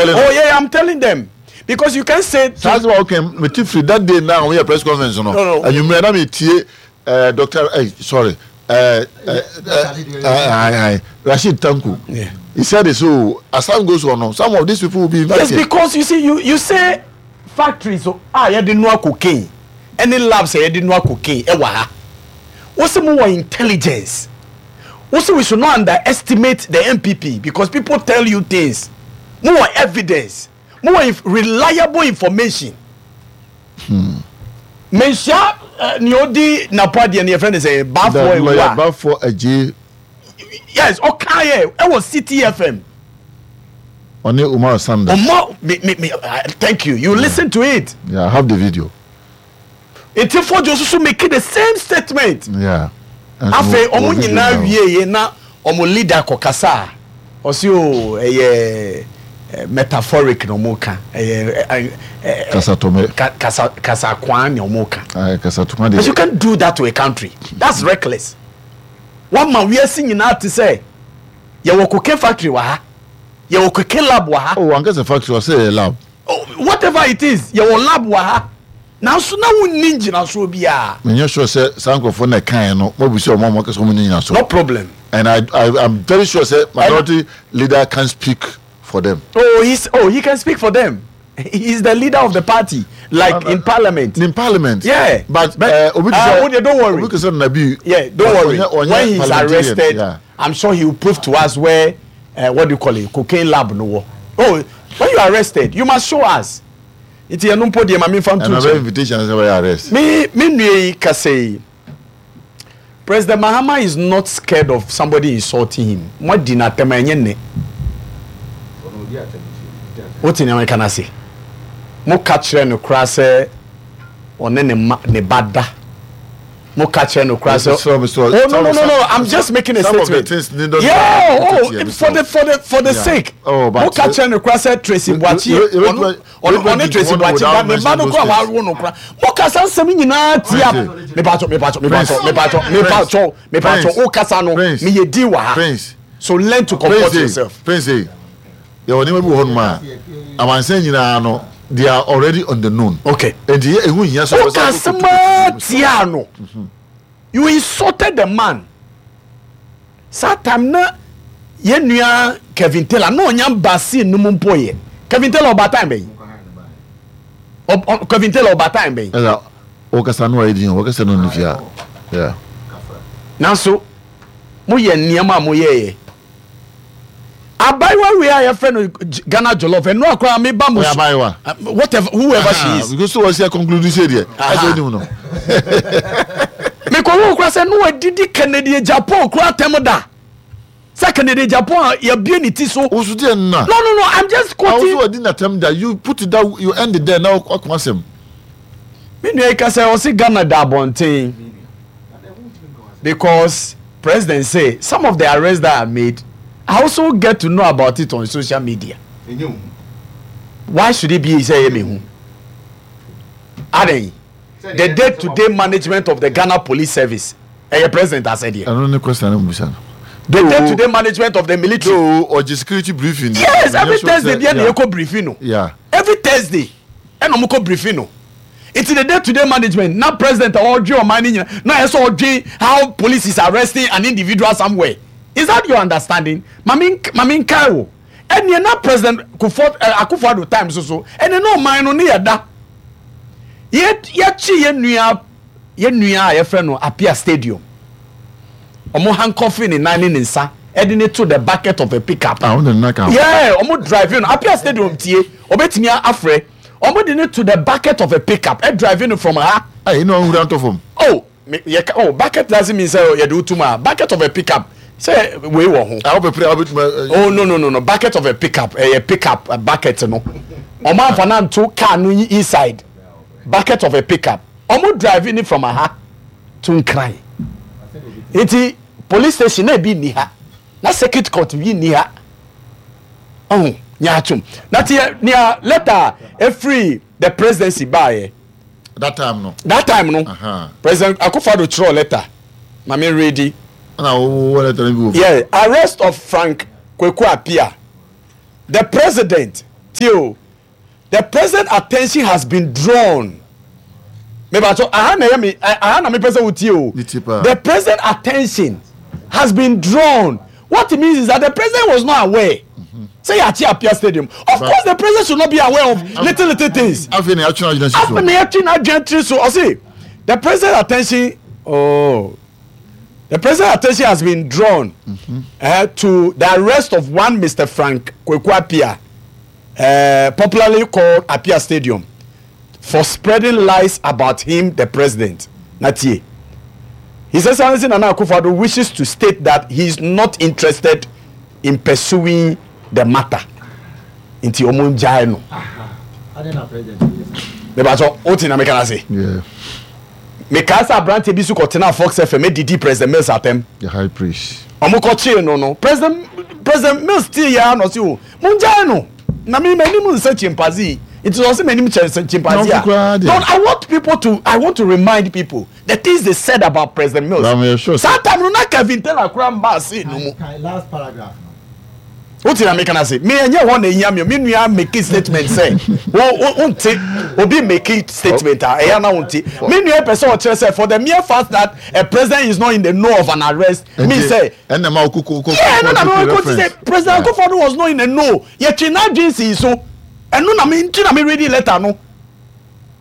Telling Oh yeah, I'm telling them because you can say. Saa sɛ okay, me ti firi that day na wɔn yɛ press conference no. No, no. Enyimire na mi tie ɛɛ doctor ɛɛ sorry ɛɛ ɛɛ ɛɛ Rashid Tanko. Yeah. He said it so as time goes on no, some of these people will be invited. Yes, because you see you say factories a yɛde noa cocaine ɛne labs a yɛde noa cocaine ɛwɔ ha. Wosi mo wɔ intelligence. Wosi we should not underestimate the NPP because people tell you things. Mo wɔ evidence. Mo wɔ inf reliable information. Menhyia uh, nea odi napo adeɛ no yɛfrɛ no sɛ Bafo The lawyer Ewa. Bafo Agyei Yes, ɔka yɛ ɛwɔ City FM. ɔne Umar Sanda. Ɔmo me me me thank you. You listen to it. Yeah, I have the video. Nti Fodjo nso so make the same statement. Yeah. Afei ɔmo nyinaa wie yɛ na ɔmo leader kɔ kasa a ɔsi o ɛyɛ metaphoric na ɔmo ka ɛyɛ ɛ ɛ Kasatɔmɛ. Kasa kasa kwan na ɔmo ka. Kasatɔmɛ de. But you can't do that to a country. That's reckless. Wɔn ma wiase nyinaa te sɛ yɛwɔ cocaine factory wɔ ha, yɛwɔ cocaine lab wɔ ha. Oh, ankasa factory ɔsɛ yɛ lab. Oh, whatever it is, yɛwɔ lab wɔ ha. Nanso na wonni ngyinasoɔ biara. Menyɛ sure sɛ saa nkurɔfoɔ na ɛkaeɛ no moabisa wɔn a wɔaka sɛ wɔnni nnyinasoɔ. No problem. And I I'm very sure sɛ minority leader can speak for them. Oh he's oh he can speak for them. He is the leader of the party like in parliament. In parliament. Yeah. But, but obi te sɛ oh, don't worry. Obi te sɛ Nabi. Yeah, don't worry. When he's arrested, yeah. I'm sure he will prove to us where what do you call it, cocaine lab no wɔ. Oh, when you are arrested, you must show us. Nti ɛno mpo deɛ ma memfa nto nkyɛn. invitation sɛ wɔyɛ arrest. Me me nua yi kasa yi, President Mahama is not scared of somebody insulting him. Mo adi n'atɛm a ɛnyɛ nnɛ. Wote nea meka no ase? Mo ka kyerɛ no koraa sɛ ɔne ne ma ne ba da. Mo ka kyerɛ no koraa sɛ oh no no no no I'm just making a statement. Yeah oh for the for the for the sake. Oh, Mo ka kyerɛ no koraa sɛ Tracy Boakye ɔno ɔno ɔne Tracy Boakye ba ne ba no koraa wawo no koraa. Mo kasa nsɛm nyinaa tia. Mepatɔ mepatɔ mepatɔ mepatɔ mepatɔ mepatɔ o kasa no meyɛ din wɔ ha. So learn to comport yourself. Prince yɛwɔ nneɛma bi wɔ hɔnom a amansan nyinaa no they are already on the known. Okay. Nti yɛ ehu nyia sɛ ɔka asɛm a tia no. You insulted the man. Saa time na yɛn nua Kevin Taylor na ɔnya ba scene no mu mpo yɛ. Kevin Taylor ɔba time bɛyi. Kevin Taylor ɔba time bɛyi. Ɛna ɔkasa no ayɛ din ɔkasa no ne fia. Yeah. Nanso mo yɛ nneɛma a mo yɛɛyɛ. Abaayewa wei a yɛfrɛ no Ghana Jollof ɛno akora me ba mo so. Abaayewa. Whatever whoever she is. Because so wɔsi conclude sɛ deɛ ɛsɛ onim no. Mekɔ wo kora sɛ no adidi Kennedy Agyapong kora atɛm da. Sɛ Kennedy Agyapong a yɛbie ne ti so. Wosu deɛ nna. No no no I'm just quoting. Awosu adi n'atɛm da you put it that you end it there na wakɔ asɛm. Me nua yi ka sɛ ɔsi Ghana da abɔnten because president say some of the arrests that are made I also get to know about it on social media. Why should it be sɛ ɛyɛ me hu? Adan the day to day management of the Ghana Police Service ɛyɛ president asɛdeɛ. Ɛno ne question no mbisa no. The day to day management of the military. Though ɔgye security briefing. Yes, every Thursday bia na yɛkɔ briefing no. Yeah. Every Thursday ɛna ɔmo kɔ briefing no. Nti the day to day management na president a ɔdwe ɔman no nyina na ɛsɛ ɔdwe how police is arresting an individual somewhere. Is that your understanding? Mame mame nkae wo. Ɛneɛ na president Kufuor eh, Akufo-Addo time so so ɛneɛ na ɔman no ne yɛ da. Yɛ yɛkye yɛ nua yɛ nua a yɛfrɛ no Apia Stadium. Ɔmo handcuff ne nan ne ne nsa ɛde ne to the bucket of a pickup. Ah, ɔmo de ne nan ka ho. Yeah, ɔmo drive no Apia Stadium tie ɔbɛtumi afrɛ. Ɔmo de no to the bucket of a pickup ɛ drive no from ha. Ayi na ɔnwura ntɔ fam. Oh me yɛ ka oh bucket doesn't mean sɛ yɛde wo tum a bucket of a pickup sɛ wei wɔ ho. Ah wopɛ pere a wobɛtumi. Oh no no no no bucket of a pickup ɛyɛ pickup bucket no ɔmo anfa no anto car no inside bucket of a pickup ɔmo drive no from aha to Nkran nti police station na ebi nni ha na circuit court bi nni ha. Ɔho nyaatwom. Na teɛ nea letter a ɛfiri the presidency baeɛ. That time no. That time no. Uh-huh. President Akufo-Addo twerɛ letter. Ma me ready. Ɛna wo letter no bi wɔ. Yeah, arrest of Frank Kweku Appiah. The president. Tie o, the president attention has been drawn. Mebatɔ aha na ɛyɛ me aha na mepɛ sɛ wotie o. The president attention has been drawn. What it means is that the president was not aware. Sɛ yɛakye Apia Stadium. Of course the president should not be aware of little little things. Afei na yɛatwe n'adwene si so. Afei na yɛatwe n'adwene tiri so. Ɔse the president attention oh. The president's attention has been drawn mm -hmm. to the arrest of one Mr. Frank Kweku Apia, popularly called Apia Stadium, for spreading lies about him, the president. Natie. His Excellency Nana Akufo-Addo wishes to state that he is not interested in pursuing the matter. Nti ɔmo ngyae no. Mebatɔ, o ti na meka na se. Mekaa sɛ aberanteɛ bi nso kɔtenaa Fox FM didii President Mills atɛm. The high priest. Wɔn kɔkyee no no, President President Mills tee yɛ ara na ɔse o, mongyae no, na me m'anim nsɛ chimpanzee, nti sɛ ɔse m'anim kyɛn chimpanzee a, no, I want people to, I want to remind people the things they said about President Mills. Sure Saa time no na Kevin Taylor koraa mbaa scene no mu. Last paragraph no. Wote na meka no ase? Me ɛnyɛ hɔ na ehia me. Me nua make statement sɛ wo wo nte obi make statement a ɛyɛ na wonte. Me nua pɛ sɛ ɔkyerɛ sɛ for the mere fact that a president is not in the know of an arrest means sɛ. Ɛnna ma okoko okoko Yeah, ɛno na me kɔ ti sɛ President Akufo-Addo was not in the know. Yɛtwe n'adwene sii so. Ɛno na me nti na me ready letter no.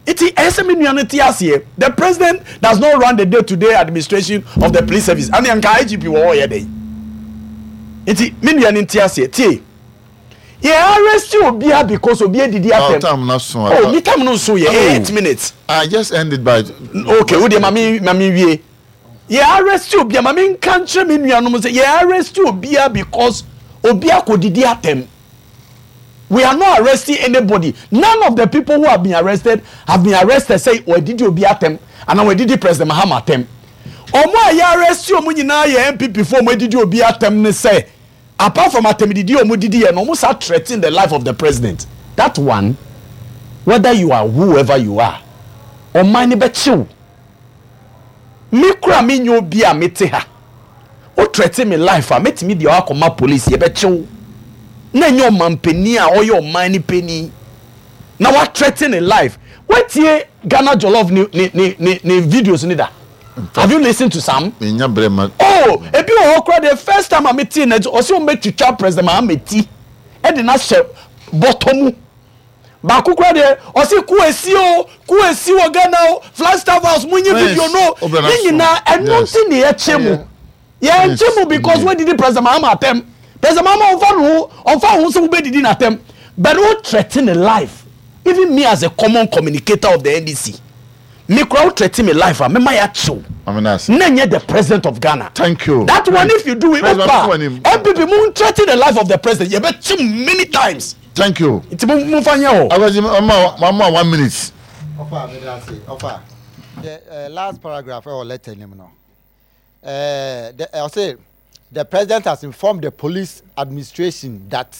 Nti ɛyɛ sɛ me nua no te aseɛ. The president does not run the day to day administration of the police service. Ɛne nka IGP wɔ hɔ yɛ dɛn? Nti me nua no nte aseɛ. Tie. Yɛ arrest obiara because obi adidi atɛm. Time na so. Oh, me time no nso yɛ 8 minutes. I just ended by. Okay, wo deɛ ma me ma me wie. Yɛ arrest obiara ma me nka nkyerɛ me nuanom sɛ yɛ arrest obiara because obi akɔdidi atɛm. We are not arresting anybody. None of the people who have been arrested have been arrested sɛ wɔadidi obi atɛm anaa wɔadidi President Mahama atɛm. Wɔn a yɛ arrest wɔn nyinaa yɛ NPP foɔ wɔn adidi obi atɛm ne sɛ apart from atɛmdidi a wɔn didi yɛ no wɔn sa threaten the life of the president. That one, whether you are whoever you are, ɔman no bɛkye wo. Me koraa menyɛ obi a mete ha. Wo threaten me life a, mɛtumi de wo akɔma police, yɛbɛkye wo. Na ɛnyɛ ɔmanpanin a ɔyɛ ɔman no panin na wa threaten ne life. Woatie Ghana Jollof ne ne ne ne ne videos ne da? Have you listened to some? Menya brɛ ma. Oh, ebi wɔ hɔ koraa the first time a metee no, ɔse wɔbɛtwitwa President Mahama ti de no ahyɛ bɔtɔ mu. Baako koraa deɛ ɔse ko esi o, ko esi wɔ Ghana o, Flagstaff house mo nyi video no, ne nyinaa ɛno nti ne yɛkye mo. Yɛnkye mo because woadidi President Mahama atɛm. President Mahama ɔmfa ne ho, ɔmfa ho sɛ wobɛdidi n'atɛm, but wo threaten ne life. Even me as a common communicator of the NDC, me koraa wo threaten me life a, mɛma yɛakye wo. Na nyɛ the president of Ghana. Thank you. That one if you do it, opa, NPP mo threaten the life of the president, yɛbɛkye mo many times. Thank you. Nti mo mo fa nyɛ hɔ. Akwasi mama mama 1 minute. Ɔfa mi da ase ɔfa. The last paragraph ɛwɔ letter nim no. The ɔsɛ the president has informed the police administration that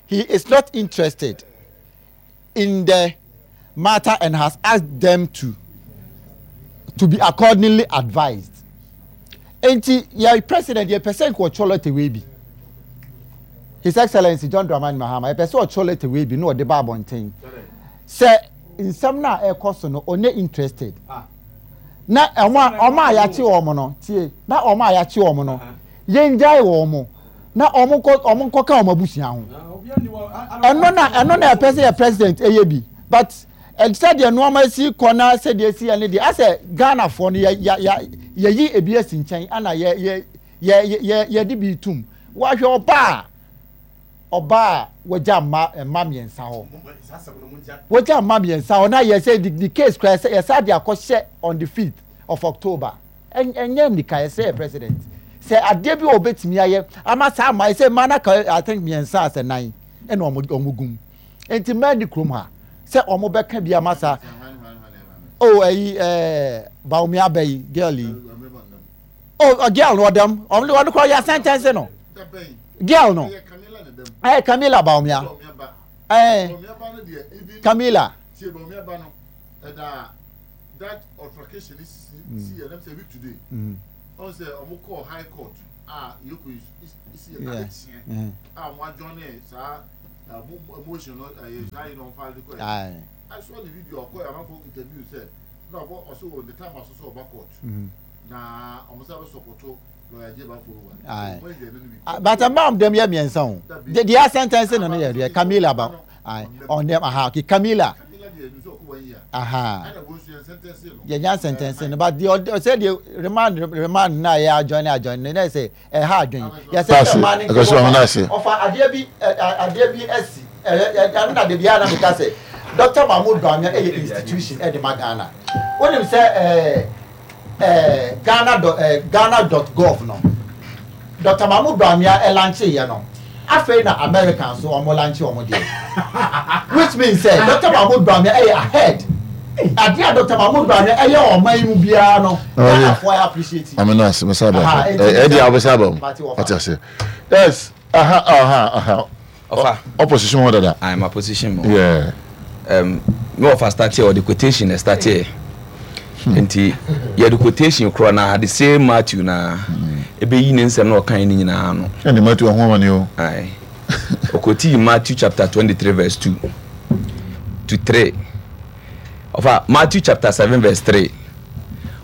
he is not interested in the matter and has asked them to be accordingly advised. Nti yɛ president yɛ pɛ sɛ nkɔ ɔtwerɛ letter wei bi. His Excellency John Dramani Mahama yɛ pɛ sɛ ɔtwerɛ letter wei bi na ɔde ba abɔnten sɛ nsɛm no a ɛkɔ so no ɔnyɛ interested na ɔmo a yɛakye wɔn no tie na ɔmo a yɛakye wɔn no yɛngyae wɔn mo na ɔmo nkɔ ka wɔn abusua ho. Ɛno na ɛpɛ sɛ yɛ president ɛyɛ bi, but sɛdeɛ nneɛma si kɔ na sɛdeɛ esi yɛ ne deɛ asɛ Ghanafoɔ no yɛ yɛ yɛ yɛyi ebi asi nkyɛn ana yɛ yɛ yɛ yɛ yɛde bi tum. Wahwɛ ɔbaa a wɔgya mma mmiɛnsa hɔ, wɔgya mma mmiɛnsa hɔ na yɛ sɛ the case kora yɛ yɛsa de akɔhyɛ on the 5th of October. Ɛnyɛ nika. Yɛ sɛ yɛ president sɛ adeɛ bi a ɔbɛtumi ayɛ ama saa ama yɛ sɛ mmaa n'aka, I think mmiɛnsa asɛ nan ɛna ɔmo gum nti mmaa ni kurom ha sɛ ɔmo bɛka bi ama saa. Oh, ɛyi Bawumia abɛ yi girl yi, oh, girl no ɔdɛm ɔmo de ɔno kora yɛ asɛntɛnse no girl no Camila Bawumia, Camila. That altercation is si yɛ nam sɛ week today ɔn sɛ ɔmo kɔɔ high court a yɛkɔ yi si yɛ kade kyeɛ a ɔmo adjourn saa. Aye. Aye. But ɛma dɛm yɛ mmiɛnsa o. De deɛ asɛntɛnse no no yɛ deɛ Camila ba. Aye. On them aha okay Camila. Aha. Yɛnya sɛntɛnse no but deɛ ɔsɛ deɛ remand remand na yɛ adjoin adjoin no na yɛ sɛ ɛha adwen yɛsɛ sɛ mmaa ne nkɔmɔ ɔfa adeɛ bi adeɛ bi asi ɛno na debi a na meka sɛ Dr. Mahmoud Bawumia ɛyɛ institution ɛde ma Ghana wonim sɛ ɛɛ ɛɛ Ghana dot ɛɛ Ghana dot gov no Dr. Mahmoud Bawumia ɛlanche yɛ no afei na America nso wɔn lanche wɔn deɛ which means sɛ Dr. Mahmoud Bawumia ɛyɛ ahead adeɛ a Dr. Mahmoud Bawumia ɛyɛ ɔman yi mu biara no Ghanafoɔ yɛ appreciate. Maame no ase mesa ba ɛdi a wobɛsa ba mu ɔte ase yes aha aha aha ɔfa opposition hɔ dada I'm opposition mu yeah me ɔfa start here ɔde quotation na start here nti yɛde quotation korɔ na the same Matthew na ɛbɛyi ne nsɛm na ɔkan ne nyinaa no ɛne Matthew ɔho amane o aye ɔkɔtii Matthew chapter 23 verse 2 to 3 Ɔfa Matthew chapter 7 verse 3.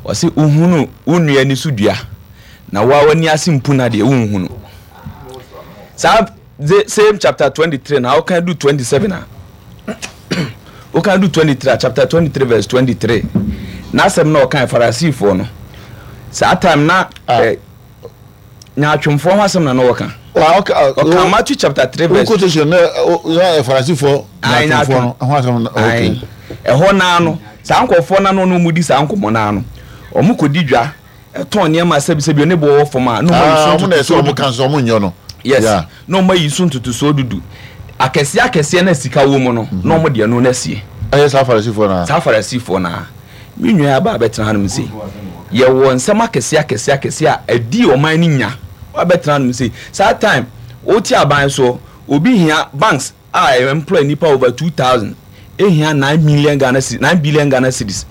Ɔse wohunu wo nua ani so dua na woa w'ani ase mpuna deɛ wonhunu. Saa the same chapter 23 na wokan du 27 a wokan du 23 a chapter 23 verse 23 n'asɛm na ɔkan Farisifoɔ no saa time na ah. eh, Nyaatwomfoɔ ho asɛm na na wɔka. Ɔka Matthew chapter 3 verse. Quotation na yɛ Farisifoɔ nyaatwomfoɔ no ho asɛm na okay. Ɛhɔ naa no saa nkurɔfoɔ no ano na wɔn di saa nkɔmɔ naa no wɔn kɔ di dwa ɛtɔn nneɛma sɛbisɛbi ne bo wɔ fam a na wɔn ayi so ntotosoɔ dudu. Wɔn na ɛsɛ wɔn ka nso wɔn nyɛ no. Yes na wɔn ayi so ntotosoɔ dudu akɛseɛ akɛseɛ na sika wɔ mu no na wɔn deɛ no na sie. Ɛyɛ saa Farisifoɔ naa. Saa Farisifoɔ naa. Me nua aba abɛtena hanom sei. Yɛwɔ nsɛm akɛseɛ akɛseɛ akɛseɛ a ɛdi ɔman no nya. Wabɛtena hanom sei. Saa time, wote aban soɔ, obi hia banks a employ nipa over 2000 ehia 9 million Ghana cedis, 9 billion Ghana cedis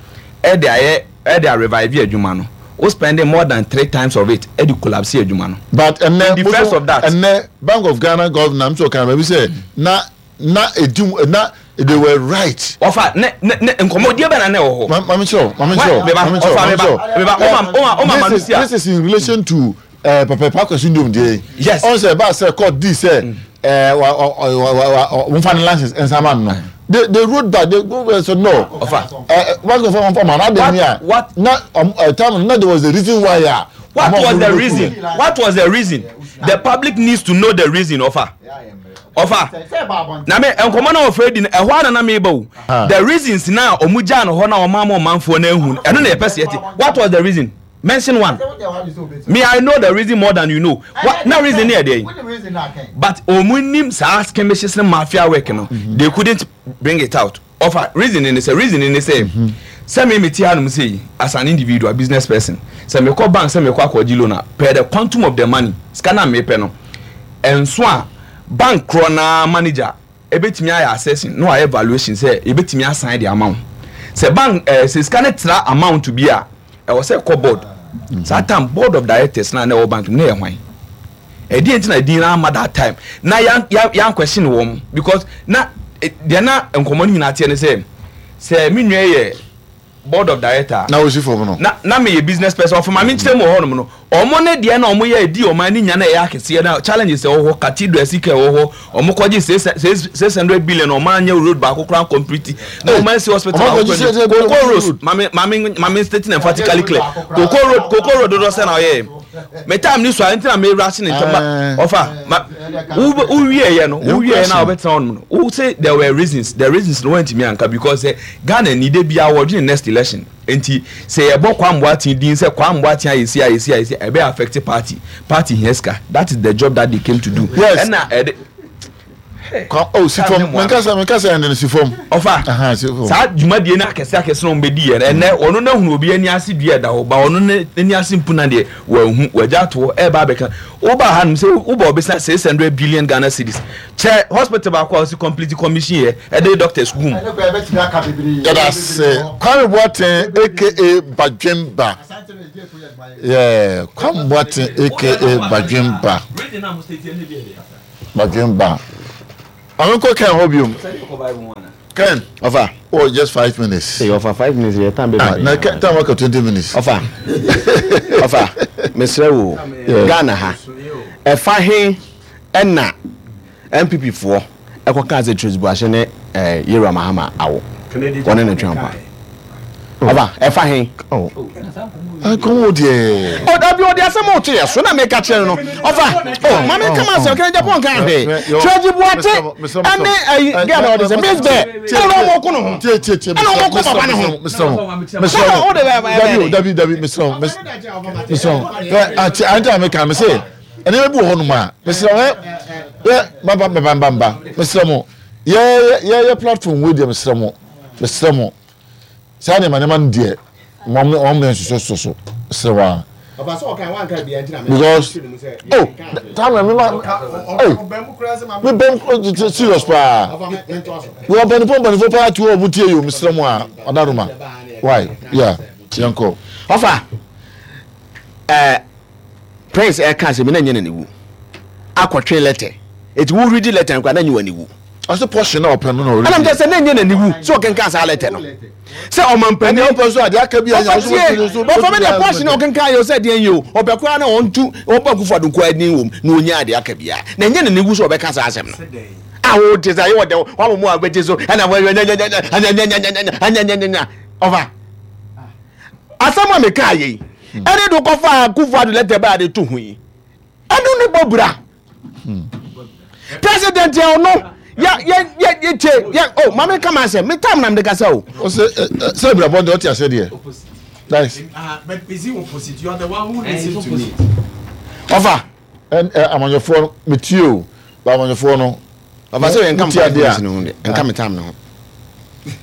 ɛde ayɛ ɛde a revive adwuma no. Wo spending more than three times of it ɛde collapse adwuma no. But ɛnɛ, In defense of that. ɛnɛ Bank of Ghana governor nso kan baabi sɛ na na edi mu na they were right. Ɔfa ne ne ne nkɔmɔdie bɛ na na ɛwɔ hɔ. Maame kyerɛw maame kyerɛw maame kyerɛw maame kyerɛw. Meba ɔma ɔma ɔma ma no si a. This is in relation to uh, Papa Pakwasi Ndom deɛ. Yes. Ɔn sɛ ɛbaa sɛ court di sɛ ɛɛ wa wa wa wa wɔn fa ne license nsa ma no. They wrote back they go and said no. Ɔfa. Ɛɛ wɔn kò fɔ wɔn fɔ ma na de ni a. What na ɔm time na there was a reason why a. What was the reason? What was the reason? The public needs to know the reason. Ɔfa. Ɔfa na me nkɔmɔ na ɔfrɛ di no ɛhɔ ara na meba o the reasons na ɔmo gyaa no hɔ na ɔmo ama ɔmanfoɔ no ahu ɛno na yɛpɛ sɛ yɛte what was the reason mention one me I know the reason more than you know what na reason ne yɛ deɛ but ɔmo nim saa skirmishes ne mafia work no they couldn't bring it out Ɔfa reason ne sɛ reason ne sɛ sɛ me mete hanom sei as an individual business person sɛ mekɔ bank sɛ mekɔ akɔgye loan a per the quantum of the money sika no a mepɛ no ɛnso a bank korɔ naa manager ɛbɛtumi ayɛ assessing na wayɛ valuation sɛ yɛbɛtumi asan de ama wo sɛ bank ɛɛ sɛ sika no tra amount bi a ɛwɔ sɛ ɛkɔ board saa time board of directors na na ɛwɔ bank mu na ɛyɛ hwan Ɛdeɛn nti na din no amma that time na yan yan yan question wɔn because na eh, deɛ na nkɔmɔ no nyinaa teɛ ne sɛ sɛ me nua yɛ board of director na wosi fam no na na meyɛ business person ɔfɔ maame nkyerɛ mu wɔ hɔnom no wɔn ne deɛ na wɔn yɛ edi wɔn ani nya na ɛyɛ akɛseɛ na challenges ɛwɔ hɔ cathedral sika ɛwɔ hɔ wɔn kɔgye 600 billion wɔn anyɛ road baako koraa complete na wɔn ansi hospital baako koraa cocoa road maame maame maame stating emphatically clear cocoa road cocoa road dodoɔ sɛ na ɔyɛ me time ni so a ntina me rush ne ntɛm ba ɔfa ma wo wo wie yɛ no wo wie yɛ na ɔbɛtena hɔ no wo say there were reasons the reasons no wɔntumi anka because sɛ Ghana ni de bia wɔdwene next election nti sɛ yɛbɔ Kwame Boateng din sɛ Kwame Boateng ayɛ si ayɛ si ayɛ si ɛbɛ affect party party hia sika that is the job that they came to do yes ɛna ɛde. Kwa oh si fam menkasa menkasa ɛnde no si fam. Ɔfa saa dwumadie no akɛse akɛse na wɔn bɛdi yɛ no ɛnɛ ɔno na hunu obi ani ase dua ɛda hɔ ba ɔno n'ani ase mpuna deɛ wɔahu wɔagya ato hɔ ɛreba abɛka woba ha nom sɛ wobɔ ɔbɛsa 600 billion Ghana cedis kyɛ hospital baako a ɔsi complete commission yɛ ɛde doctors gu mu. Yɛda ase Kwame Boateng aka Badwemba yeah Kwame Boateng aka Badwemba. Badwemba. Ɔno nkɔ Ken hɔ biom. Ken. Ɔfa. Oh, just 5 minutes. Ee, ɔfa 5 minutes yɛ time bɛ Ah, na Ken time waka 20 minutes. Ɔfa. Ɔfa. Mesrɛ wo. Ghana ha. Ɛfa he ɛna NPP foɔ ɛkɔ kaa sɛ Tracy Buakye ne ɛɛ Yewura Mahama awo. Wɔne ne twɛn pa. Ɔfa ɛfa he. Oh. Nkɔmɔ deɛ. Ɔ dabi ɔde asɛm a ɔto yɛ so na meka kyerɛ no no ɔfa o maame nka ma asɛm kɛnɛ Japan kan hwee Tracy Buakye ɛne ɛyi gɛn ɔde sɛ Miss Bɛ ɛna ɔmo ko no ho ɛna ɔmo ko papa ne ho Mesrɛ mo. Mesrɛ mo. Dabi o dabi dabi mesrɛ mo. Mesrɛ mo. Ɛ ati ante a meka me se ɛnneɛma bi wɔ hɔ nom a mesrɛ mo ɛ yɛ baba baba baba mesrɛ mo yɛ yɛ yɛ platform wei deɛ mesrɛ mo mesrɛ mo saa nneɛma nneɛma no deɛ wɔn wɔn mɛ nsoso so so mesrɛ wɔn a. Because oh time na mi ma hey mi bɛn serious paa wọ́n mpanimfoɔ mpanimfoɔ paa ti wɔ ɔmo tie yi o mesrɛ mo a ɔdaroma why yeah yɛn kɔ. Ɔfa ɛɛ Prince ɛka asɛm na nyɛ n'ani wu akɔtwe lɛtɛ eti wo redi lɛtɛ no koraa na nyɛ w'ani wu. Ɔsɛ pɔhye na ɔpɛ no na ɔredi. Ɛna mi sɛ na nyɛ n'ani wu sɛ ɔkenkan saa lɛtɛ no sɛ ɔmampanin. Ɛna ɔpɛ so adeɛ aka bi a ɔfa tie ɔfa mi deɛ pɔhye na ɔkenkan yɛ ɔsɛ deɛ yɛ o ɔpɛ koraa na ɔntu ɔbɔ akufo ado nkoa ni wɔm na onya adeɛ aka bi a na nyɛ n'ani wu sɛ ɔbɛka saa asɛm no. A wo te sɛ ayɛ wɔ dɛw wɔn mu a bɛgye so ɛna wɔn nyanyanyanyanyanyanyanyanya ɔfa asɛm a meka yɛ yi ɛne de kɔfa akufo ado lɛtɛ baa de to ho yi ɛno ne bɔ bura president yɛ ɔno yɛ yɛ yɛ yɛ tie yɛ o maame kama asɛm me tam na me de kasa o. Ɔsɛ sɛ ebirabɔ deɛ ɔte ase deɛ. Nice. But is it opposite? You are the one who listen to me. Ɔfa. Ɛn ɛ amanyɔfoɔ no metie o ba amanyɔfoɔ no. Ɔfa sɛ yɛn nka Wotie adeɛ a mi ho deɛ nka mi tam ne ho.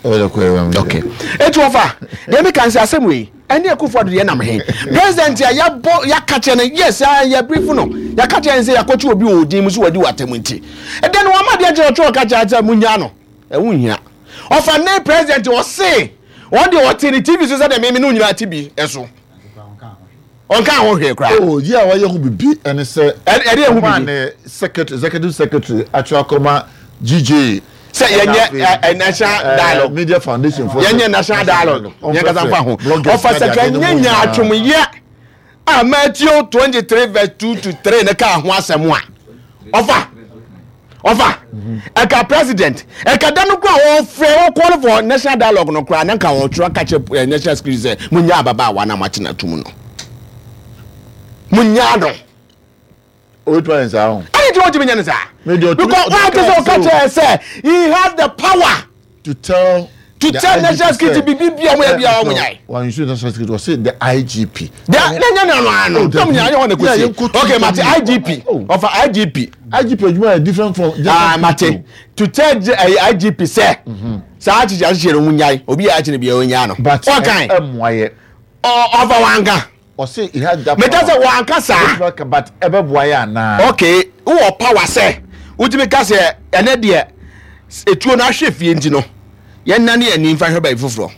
Ɛyɛ kɔ ɛwɛ mi. Okay. Etu ɔfa deɛ mi kan sɛ asɛm wei ɛne Akufo Addo deɛ nam he president a yɛabɔ yɛaka kyerɛ no yes a yɛ brief no yɛaka kyerɛ no sɛ yɛakɔkye obi wɔ odin mu so wadi wɔ atam nti ɛdɛ no wama deɛ kyerɛ ɔtwerɛ ɔka kyerɛ sɛ munya no ɛho nhia ɔfa ne president ɔse wɔn deɛ ɔte ne TV so sɛ deɛ meme ne nyinaa te bi ɛso ɔnka ho hwee koraa. Oh, yi a wayɛ ho bibi ɛne sɛ. Ɛde ɛho ɔmaa bibi. ne secretary executive secretary atwerɛ akɔma GJ. Sɛ yɛnyɛ ɛ national dialogue. Media foundation fo. Yɛnyɛ national dialogue. Yɛn kasa nfa ho. Ɔfa sɛ ka nyɛ nyaatwomyɛ a Matthew 23 verse 2 to 3 ne kaa ho asɛm a. Ɔfa. Ɔfa. Ɛka president. Ɛka da no kora wɔfrɛ wɔ call for national dialogue no kora na nka wɔtwerɛ ka kyerɛ national security sɛ munya ababaawa na moakyena tum no. Munya no. Obetumi ayɛ saa ho. Ɛne nti wɔntumi nyɛ no saa. Because wɔn ate sɛ ɔka kyerɛ sɛ he has the power. To tell. To tell national security bibi bi a wɔn yɛ bi a wɔn nyae. Wɔn nsu national security wɔsi the IGP. De ne nyɛ ne ano ano. Tɔm nyɛ ayɛ hɔ na kosi. Okay mate IGP ɔfa IGP. IGP adwuma yɛ different from. Ah mate to tell IGP sɛ saa akyekyɛ akyekyɛ no wɔn nyae obi yɛ akyekyɛ bi a wɔn nyae no. But ɛmoa yɛ. Ɔfa wɔn anka. Ɔse he has that power. Meka sɛ wanka saa. But ɛbɛboa yɛ anaa? Okay, wowɔ power sɛ wotumi ka sɛ ɛnɛ deɛ etuo no ahwɛ fie nti no yɛnnane yɛn ani mfa hwɛ baabi foforɔ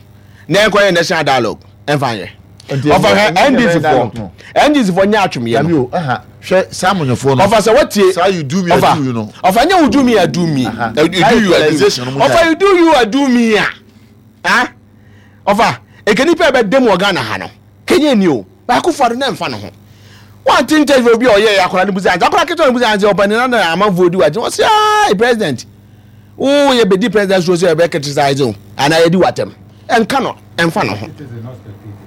na yɛnkɔyɛ national dialogue ɛmfa nyɛ. Ɔfa hwɛ NDC foɔ NDC foɔ nyɛ atwomyɛ no. Hwɛ saa amanyɔfoɔ no. Ɔfa sɛ watie. Saa you do me I do you no. Ɔfa nyɛ wo do me I do me. You do you I do me. Ɔfa you do you I do me a. Ah ɔfa eke nipa ɛbɛ dɛm wɔ Ghana ha no. Kenya ni o, baako fa do na ɛmfa ne ho. Wante interview bi a ɔyɛɛ akwadaa no busa ansa, akwadaa ketewa no busa ansa ɔpanin na na amanfoɔ di w'akyi, ɔsi ayi president, wo yɛ bɛdi president so sɛ ɛbɛ criticize o, anaa yɛdi w'atɛm, ɛnka no, ɛmfa ne ho.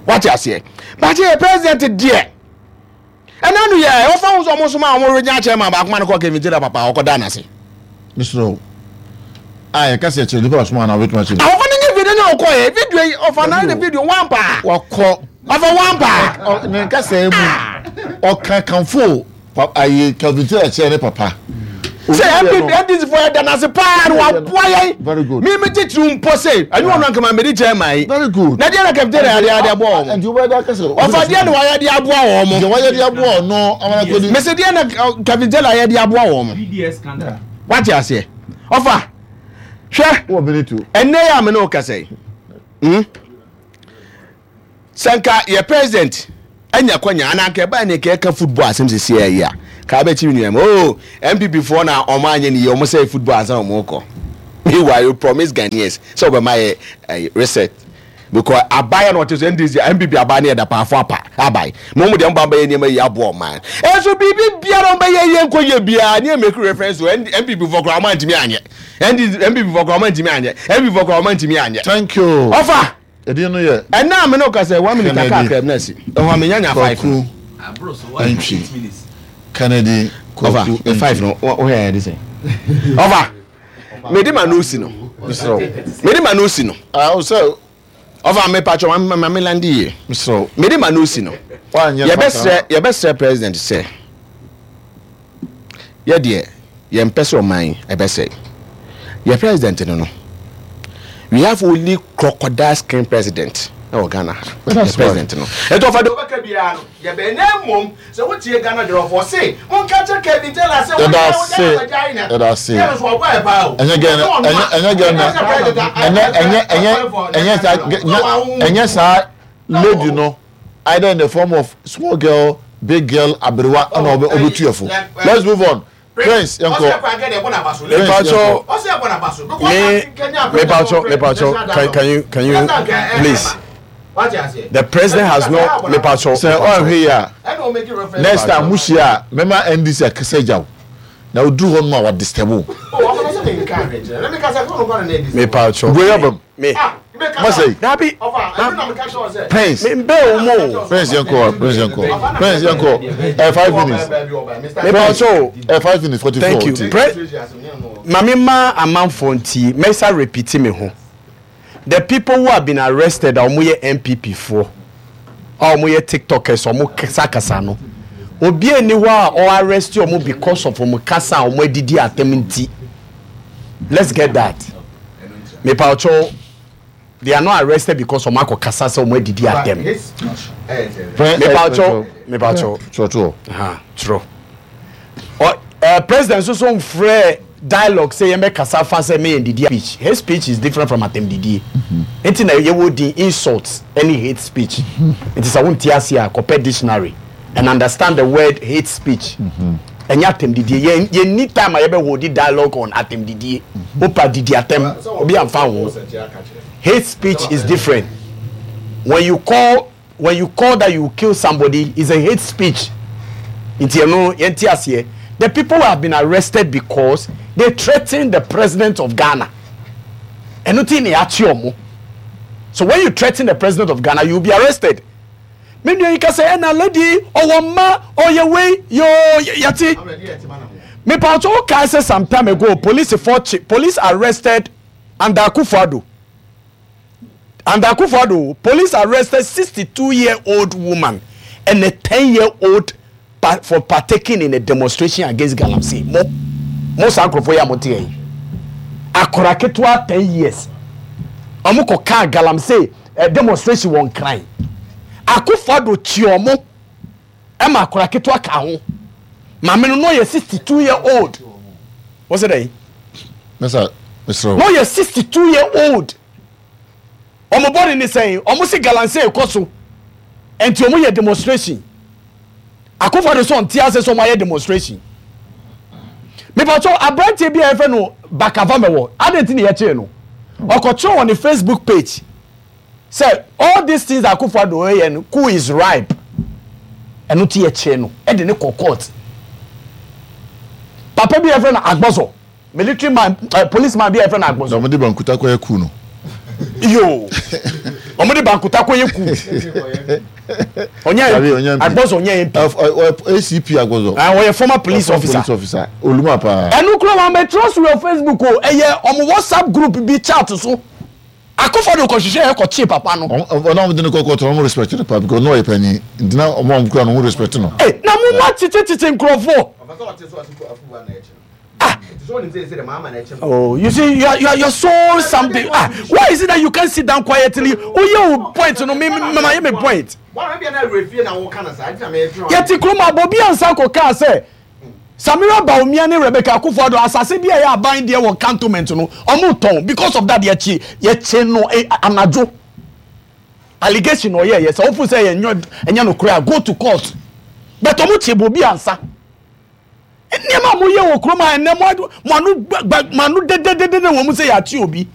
Wate aseɛ? Bakyɛ yɛ president deɛ, ɛna no yɛ ɔfa ho sɛ ɔmo soma a ɔmo regya akyɛ ma baako ma no kɔ Kevin Taylor papa ɔkɔ da n'ase. Mesrɛ wo a yɛka sɛ kyerɛ nipa ɔsoma anaa wobɛtumi akyerɛ Ɔfa no nyɛ video nyɛ ɔkɔ yɛ video yi ɔfa na ne video one paa. Wakɔ ɔfa one paa. Ne nkasa mu ɔka kamfo ayi Kelvin Taylor kyerɛ ne papa. Sɛ NPP NDC fo yɛ da n'ase paa na waboa yɛn. Very good. Mi mi titiri mpo se ɛnyɛ wɔn ankama mɛ di kyɛn maa yi. Very good. Na deɛ na Kelvin Taylor yɛ adeɛ aboa wɔn. Nti wobɛda akasa. Ɔfa deɛ na wayɛ de aboa wɔn. Deɛ wayɛ de aboa wɔn no amana kodi. Mese deɛ na Kelvin Taylor yɛ de aboa wɔn. BDS scandal. Wate aseɛ. Ɔfa hwɛ. Wɔ minute o. Ɛnɛ yɛ a me ne wo kasa yi. Hmm? Sɛ nka yɛ president anya kwanya anaa nka ɛbaa ne nka ɛka football asɛm sisi ɛyɛ a. Kaa bɛkyi me nua mu. Oh, NPP foɔ na ɔmo anyɛ ne yie, ɔmo sɛe football ansa na ɔmo kɔ. Meanwhile, you promise Ghanaians sɛ ɔbɛma yɛ eh, reset. Because aban na ɔte so NDC, NPP aban ne yɛ dapaafo apa aban. Mo mo deɛ mo ba bɛyɛ nneɛma yie aboa ɔman. Ɛnso biribi biara ɔmo bɛyɛ yie nkɔ yie biara ne yɛ make reference to NPP foɔ koraa ɔmo antumi anyɛ. NDC, NPP foɔ koraa ɔmo antumi anyɛ. NPP foɔ koraa ɔmo antumi anyɛ. Thank you. Ɔfa. Edin no yɛ. Ɛnna a me ne wo kasa yi, one minute aka Kennedy akra mu na asi. Ɛhɔ a menya nya five no. Kwaku Antwi. Kennedy Ɔfa, Kwaku me five Antwi. no, wo hwɛ yɛ de sɛn? Ɔfa, me de ma no si no. Mesrɛ wo. Me de ma no si no. Ah, wo sɛ. Ɔfa, me patro, ma ma me landi yie. Mesrɛ wo. Me de ma no si no. Woanyɛ Yɛbɛsrɛ, yɛbɛsrɛ president sɛ. Yɛ deɛ yɛn pɛ sɛ ɔman yi ɛbɛsɛe. Yɛ president no no we have only crocodile skin president ɛwɔ Ghana ha. Yɛ president no. Ɛti ɔfa deɛ ɔbɛka biara no yɛ bɛn na mmom sɛ wotie Ghana jollof ɔse monka kyerɛ Kevin Taylor sɛ Yɛda wɔgyae ase. wɔgyae wɔgyae na Yɛda ase. yɛ no so ɔbɔ ɛ paa o. Ɛnyɛ Ghana, Ɛnyɛ ɔno ɛnyɛ a ɛnyɛ Ghana, ɛnyɛ sɛ president a ɛnyɛ ɛnyɛ ɛnyɛ ɛnyɛ saa ɛnyɛ saa lady no either in the form of small girl big girl aberewa ɛna ɔbɛ ɔbɛtu yɛ fo let's move on prince yɛn kɔ prince yɛn kɔ me mepacho mepacho can can you can you please the president has no mepacho sɛ ɔnhwɛ yi a next time mo hyia a mɛma ndc akasa gya o na oduru hɔ nom a wa disturb o. mepacho wei abam. Me. Masai. Dabi. Prince. Me mbe o mo. Prince yɛn kɔ. Prince yɛn kɔ. Prince yɛn kɔ. Ɛ 5 minutes. Me pa so. Ɛ 5 minutes 44. Thank you. Pre. Mame ma amanfo nti mɛsa repeat me ho. The people who have been arrested a wɔn yɛ NPP foɔ a wɔn yɛ tiktokers wɔn kasa kasa no obi ani hɔ a ɔ arrest wɔn because of wɔn kasa a wɔn adidi atam nti. Let's get that. Mepawkyɛw they are not arrested because wɔn akɔ kasa sɛ wɔn adidi atɛm. Mepawkyɛw mepawkyɛw. Twerɛtoɔ. Ha twerɛ. Ɔ ɛɛ president nso so nfrɛ dialogue sɛ yɛn bɛ kasa fa sɛ meyɛ ndidi speech. Hate speech is different from atɛmdidie. Nti na yɛwɔ din insult ɛne hate speech. Nti sɛ wonte ase a kɔpɛ dictionary and understand the word hate speech. Ɛnyɛ atɛmdidie. Yɛn yɛnni time a yɛbɛ holdi dialogue on atɛmdidie. Wopa didi atɛm, obi amfa wo ho. Hate speech is different. When you call when you call that you kill somebody is a hate speech. Nti ɛno yɛnte aseɛ. The people have been arrested because they threatened the president of Ghana. Ɛno ti na yɛakye ɔmo. So when you threaten the president of Ghana, you will be arrested. Me nua yi ka sɛ ɛna lady ɔwɔ mma ɔyɛ wei yoo yɛte. Mepawkyɛ wo kae sɛ some time ago police foɔ kye police arrested under Akufo-Addo under Akufo-Addo police arrested 62 year old woman and a 10 year old pa for partaking in a demonstration against galamsey mo mo saa nkurɔfoɔ yi a mo te yi akora ketewa 10 years wɔn kɔ kaa galamsey eh, demonstration wɔ nkran Akufo-Addo kyi wɔn ɛma akora ketewa ka ho maame no no yɛ 62 year old wọ́n sɛ dɛ Mesa mesrɛ no yɛ 62 year old wɔn bɔne ne sɛn wɔn se galamsey kɔ so nti wɔn yɛ demonstration Akufo-Addo sɛ ɔnte ase sɛ wɔn ayɛ demonstration mipatɔ aberanteɛ bi a yɛfrɛ no Bakava mɛwɔ adan ti na yɛkyee no ɔkɔtwerɛ wɔ ne Facebook page sɛ all these things Akufo-Addo yɛ no coup is ripe ɛno ti yɛkyee no ɛde ne kɔ court papa bi a yɛfrɛ no Agbɔzɔ military man uh, police man bi a yɛfrɛ no Agbɔzɔ. Na wɔde bankuta kɔyɛ coup no. Yoo wɔn de bankuta kɔyɛ coup. Ɔnyɛ Agbɔzɔ ɔnyɛ MP. ACP Agbɔzɔ. Ah, ɔyɛ former police officer. Police officer oluma paa. Ɛnu kura wɔn abɛtwerɛ so wɔ Facebook o ɛyɛ wɔn WhatsApp group bi chat so. Akufo-Addo kɔhwehwɛ yɛ kɔkye papa no. Ɔno a wɔde no kɔ court no wɔn respect no paa because na ɔyɛ panyin nti na wɔn a wɔn kura no wɔn respect no. Ee na mo mo akyekyekyekye nkurɔfoɔ. Ah. Oh, you see, you are, you are, you are so something. Ah, why is it that you can't sit down quietly? Oh, yeah, point. No, me, me, me, me point. Yɛte kurom a Bobi ansa kɔ kaa sɛ Samira Bawumia ne Rebecca Akufo-Addo asase bi a ɛyɛ aban deɛ wɔ cantonment no ɔmo tɔn because of that yɛkye yɛkye no eh, anadwo allegation na ɔyɛ yɛ sɛ wofo sɛ ɛnyɛ ɛnyɛ no koraa go to court but ɔmo kye Bobi ansa. Nneɛma a moyɛ wɔ kurom ha ɛnɛ mo ano gba mo ano dededede wɔ mu sɛ yɛakye obi.